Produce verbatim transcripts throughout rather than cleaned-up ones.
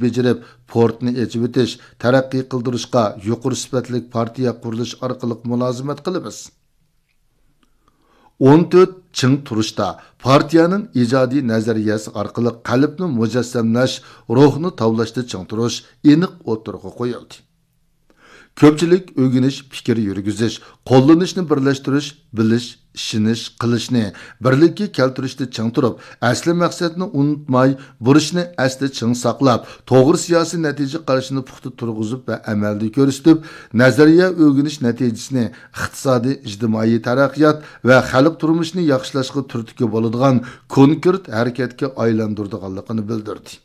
بېجىرىپ، پورتنى ئېچىۋېتىش، تەرەققىي قىلدۇرۇشقا يۇقىرى سۈپەتلىك پارتىيە قۇرۇلۇش ئارقىلىق مۇلازىمەت قىلىمىز. ئون تۆت چىڭ تۇرۇشتا پارتىيەنىڭ ئىجادىي نەزەرىيەسى ئارقىلىق قەلبنى مۇجەسسەملەش، روھنى تاۋلاشتا چىڭ تۇرۇش ئېنىق ئوتتۇرىغا قويۇلدى. كۆپچىلىك ئۆگىنىش، پىكىر يۈرگۈزۈش، قوللىنىشنى بىرلەشتۈرۈش، بىلىش، ئىشىنىش، قىلىشنى بىرلىككە كەلتۈرۈشتە چىڭ تۇرۇپ، ئەسلى مەقسەتنى ئۇنتۇماي، بۇرچنى ئەستە چىڭ ساقلاپ، توغرا سىياسىي نەتىجە قارىشىنى پۇختا تۇرغۇزۇپ ۋە ئەمەلدە كۆرسىتىپ، نەزەرىيە ئۆگىنىش نەتىجىسىنى ئىقتىسادىي، ئىجتىمائىي تەرەققىيات ۋە خەلق تۇرمۇشىنى ياخشىلاشقا تۈرتكە بولىدىغان كونكرېت ھەرىكەتكە ئايلاندۇرىدىغانلىقىنى بىلدۈردى.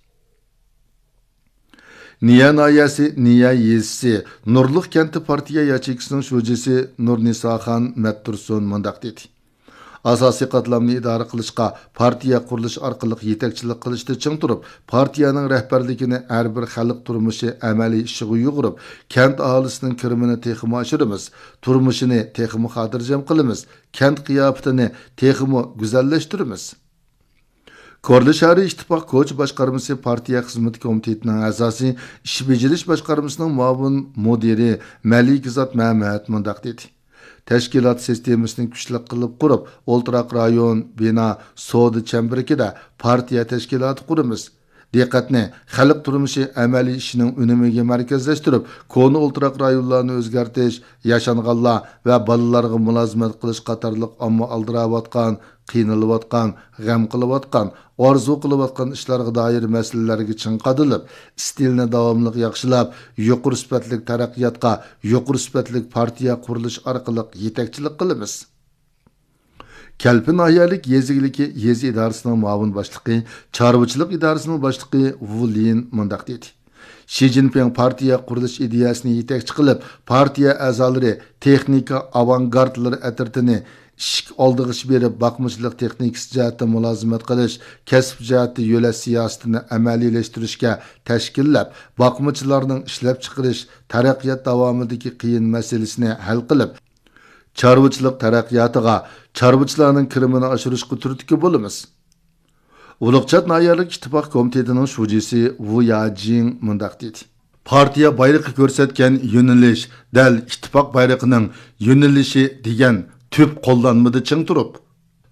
نىيە ناھىيەسى نىيە يېزىسى نۇرلۇق كەنتى پارتىيە ياچېيكىسىنىڭ شۇجىسى نۇرنىساخان مەتتۇرسۇن مۇنداق دېدى: ئاساسىي قاتلامنى ئىدارە قىلىشقا، پارتىيە قۇرۇلۇش ئارقىلىق يېتەكچىلىك قىلىشتا چىڭ تۇرۇپ، پارتىيەنىڭ رەھبەرلىكىنى ھەر بىر خەلق تۇرمۇشى ئەمەلىي ئىشىغا يۇغۇرۇپ، كەنت ئاھالىسىنىڭ كىرىمىنى تېخىمۇ ئاشۇرىمىز، تۇرمۇشىنى تېخىمۇ خاتىرجەم قىلىمىز، كەنت قىياپىتىنى تېخىمۇ گۈزەللەشتۈرىمىز. كورلا شەھىرى ئىتتىپاق كوچا باشقارمىسى پارتىيە خىزمىتى كومىتېتىنىڭ ئەزاسى، ئىش بېجىرىش باشقارمىسىنىڭ مۇئاۋىن مۇدىرى مەلىكزات مەمەت مۇنداق دېدى: تەشكىلات سىستېمىسىنى كۈچلۈك قىلىپ قۇرۇپ، ئولتۇراق رايون، بىنا، سودا چەمبىرىكىدە پارتىيە تەشكىلاتى قۇرىمىز. دىققەتنى خەلق تۇرمۇشى ئەمەلىي ئىشىنىڭ ئۈنۈمىگە مەركەزلەشتۈرۈپ، كونا ئولتۇراق رايونلارنى ئۆزگەرتىش، ياشانغانلار ۋە بالىلارغا مۇلازىمەت قىلىش قاتارلىق ئامما ئالدىراۋاتقان، قىينىلىۋاتقان، غەم قىلىۋاتقان، ئارزۇ قىلىۋاتقان ئىشلارغا دائىر مەسىلىلەرگە چىڭ قادىلىپ، ئىستىلنى داۋاملىق ياخشىلاپ، يۇقىرى سۈپەتلىك تەرەققىياتقا، يۇقىرى سۈپەتلىك پارتىيە قۇرۇلۇشى ئارقىلىق يېتەكچىلىك قىلىمىز. كەلپىن ناھىيەلىك يېزا ئىگىلىكى يېزا ئىدارىسىنىڭ مۇئاۋىن باشلىقى، چارۋىچىلىق ئىدارىسىنىڭ باشلىقى ۋۇ لىن مۇنداق دېدى: شى جىنپىڭ پارتىيە قۇرۇلۇش ئىدىيەسىنى يېتەكچى قىلىپ، پارتىيە ئەزالىرى تېخنىكا ئاۋانگارتلىرى ئەترىتىنى ئىشىك ئالدىغىچە بېرىپ، باقمىچىلىق تېخنىكىسى جەھەتتە مۇلازىمەت قىلىش، كەسىپ جەھەتتە يۆلەش سىياسىتىنى ئەمەلىيلەشتۈرۈشكە تەشكىللەپ، باقمىچىلارنىڭ ئىشلەپچىقىرىش، تەرەققىيات داۋامىدىكى قىيىن مەسىلىسىنى ھەل قىلىپ، چارۋىچىلىق تەرەققىياتىغا، چارۋىچىلارنىڭ كىرىمىنى ئاشۇرۇشقا تۈرتكە بولىمىز. ئۇلۇغچات ناھىيەلىك ئىتتىپاق كومىتېتىنىڭ شۇجىسى ۋۇ ياجىڭ مۇنداق دېدى: پارتىيە بايرىقى كۆرسەتكەن يۆنىلىش دەل ئىتتىپاق بايرىقىنىڭ يۆنىلىشى دېگەن تۈپ قوللانمىدا چىڭ تۇرۇپ،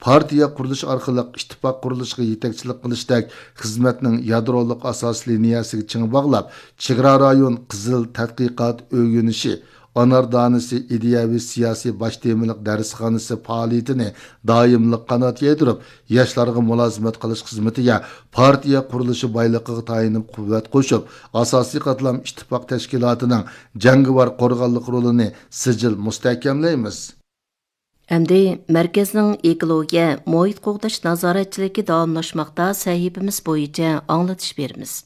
پارتىيە قۇرۇلۇشى ئارقىلىق ئىتتىپاق قۇرۇلۇشىغا يېتەكچىلىك قىلىشتەك خىزمەتنىڭ يادرولۇق ئاساس لىنىيەسىگە چىڭ باغلاپ، چېگرا رايون قىزىل تەتقىقات ئۆگىنىشى، ئانار دانىسى ئىدىيەۋى سىياسىي باش تېمىلىق دەرسخانىسى پائالىيىتىنى دائىملىق قانات يايدۇرۇپ، ياشلارغا مۇلازىمەت قىلىش خىزمىتىگە پارتىيە قۇرۇلۇشى بايلىقىغا تايىنىپ قۇۋۋەت قوشۇپ، ئاساسىي قاتلام ئىتتىپاق تەشكىلاتىنىڭ جەڭگىۋار قورغانلىق رولىنى سىجىل مۇستەھكەملەيمىز. ئەمدى مەركەزنىڭ ئېكولوگىيە، مۇھىت قوغداش نازارەتچىلىكى داۋاملاشماقتا سەھىپىمىز بويىچە ئاڭلىتىش بېرىمىز.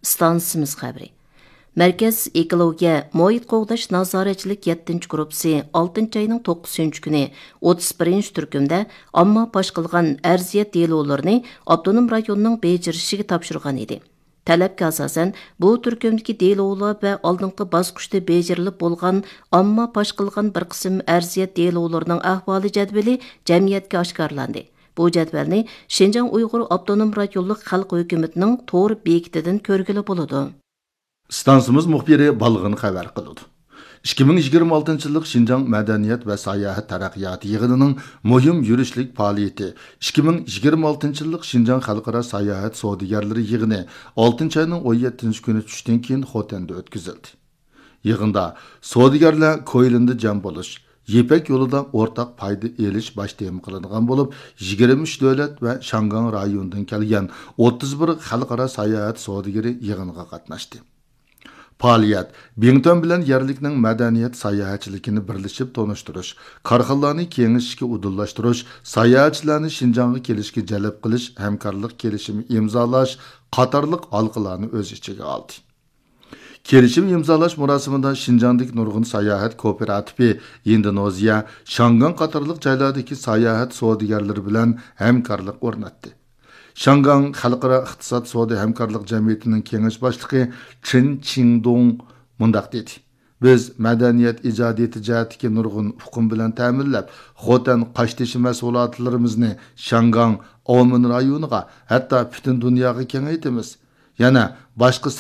ئىستانسىمىز خەۋىرى. مەركەز ئېكولوگىيە، مۇھىت قوغداش نازارەتچىلىك يەتتىنچى گۇرۇپپىسى ئالتىنچى ئاينىڭ توققۇزىنچى كۈنى ئوتتۇز بىرىنچى تۈركۈمدە ئامما پاش قىلغان ئەرزىيەت دېلولىرىنى ئاپتونوم رايوننىڭ بېجىرىشىگە تاپشۇرغان ئىدى. تەلەپكە ئاساسەن، بۇ تۈركۈمدىكى دېلولار ۋە ئالدىنقى باسقۇچتا بېجىرىلىپ بولغان ئامما پاش قىلغان بىر قىسىم ئەرزىيەت دېلولىرىنىڭ ئەھۋالى جەدۋىلى جەمئىيەتكە ئاشكارىلاندى. بۇ جەدۋەلنى شىنجاڭ ئۇيغۇر ئاپتونوم رايونلۇق خەلق ھۆكۈمىتىنىڭ تور بېكىتىدىن كۆرگىلى بولىدۇ. ئىستانسىمىز مۇخبىرى بالغىن خەۋەر قىلىدۇ. ئىككى مىڭ يىگىرمە ئالتىنچى يىللىق شىنجاڭ مەدەنىيەت ۋە ساياھەت تەرەققىياتى يىغىنىنىڭ مۇھىم يۈرۈشلۈك پائالىيىتى، ئىككى مىڭ يىگىرمە ئالتىنچى يىللىق شىنجاڭ خەلقئارا ساياھەت سودىگەرلىرى يىغىنى ئالتىنچى ئاينىڭ ئون يەتتىنچى كۈنى چۈشتىن كېيىن خوتەندە ئۆتكۈزۈلدى. يىغىندا سودىگەرلەر كويلىندا جەم بولۇش، يىپەك يولىدا ئورتاق پايدا ئېلىش باش تېما قىلىنغان بولۇپ، يىگىرمە ئۈچ دۆلەت ۋە شياڭگاڭ رايونىدىن كەلگەن ئوتتۇز بىر خەلقئارا ساياھەت سودىگىرى يىغىنغا قاتناشتى. پائالىيەت بىڭتۈەن بىلەن يەرلىكنىڭ مەدەنىيەت ساياھەتچىلىكىنى بىرلىشىپ تونۇشتۇرۇش، كارخانىلارنى كېڭىشىشكە ئۇدۇللاشتۇرۇش، ساياھەتچىلەرنى شىنجاڭغا كېلىشكە جەلپ قىلىش ھەمكارلىق كېلىشىمى ئىمزالاش قاتارلىق ھالقىلارنى ئۆز ئىچىگە ئالدى. كېلىشىم ئىمزالاش مۇراسىمىدا شىنجاڭدىكى نۇرغۇن ساياھەت كوپىراتىپى، ئىندونېزىيە، شياڭگاڭ قاتارلىق جايلاردىكى ساياھەت سودىگەرلىرى بىلەن ھەمكارلىق ئورناتتى. شياڭگاڭ خەلقئارا ئىقتىساد سودا ھەمكارلىق جەمئىيىتىنىڭ كېڭەش باشلىقى چېن چىڭدۇڭ مۇنداق دېدى: بىز مەدەنىيەت ئىجادىيىتى جەھەتتىكى نۇرغۇن ئۇقۇم بىلەن تەمىنلەپ، خوتەن قاشتېشى مەھسۇلاتلىرىمىزنى شياڭگاڭ، ئاۋمېن رايونىغا، ھەتتا پۈتۈن دۇنياغا كېڭەيتىمىز. يەنە باشقا